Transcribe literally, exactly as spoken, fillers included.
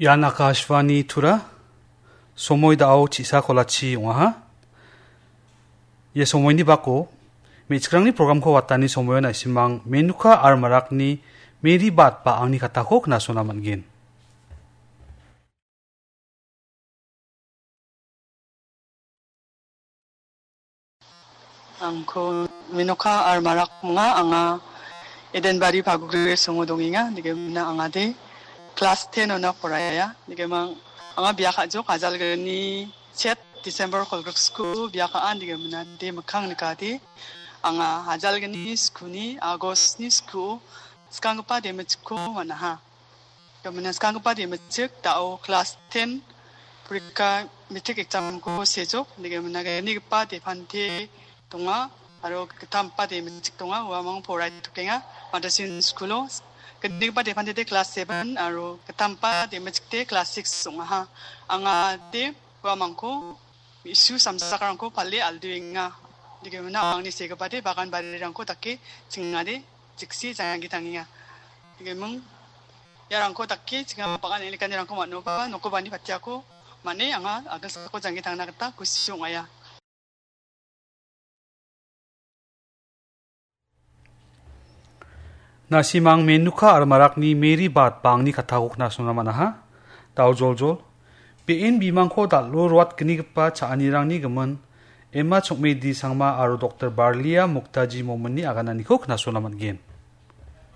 Ian Akashvani Tura, somoi dao chisa kolachi ong·aha. Ia somoini bako, me·chikrangni programko watani somoion aisimang Menuka Armarakni Mary Bat ba angni katako knasona man·gen. Angko Menoka Armarak ong·a, anga Edenbari Pagugri songo dongenga, dike mina angade class ten ona poraiya, dike mang anga bia ka·jok ajalgni chet December kolgriksku bia ka·a, dike mina de mikkang nikade anga ajalgni skuni August ni skuo skanggipa demichikko man·aha. Gamina skanggipa demichik dao class ten porika metric examko sejok, dike mina gnigipa depante donga, aro gittampa demichik donga, uamang poraitokenga, Madasin Schoolo. Gnigipa depante de class seven, aro gittampa demichik de class six ong·aha. Anga de uamangko me·su samsakrangko pale alduenga. Dike mina angni segipade bagan barirangko dake chingade jiksi janggi tangenga. Dike ming iarangko dake chinga bagan elekanirangko man·oba nokobani patiako man·e anga agilsako janggi tangna gita kusi ong·aia. Nasimang Menuka Armarakni Mary Bat ba angni katako knasona man·aha. Dao joljol. Be·en bimangko dal·o roatgnigipa cha·anirangni gimin Emma Chokmedi Sangma aro Doktor Barlia Muktaji Mominni agananiko knasona man·gen.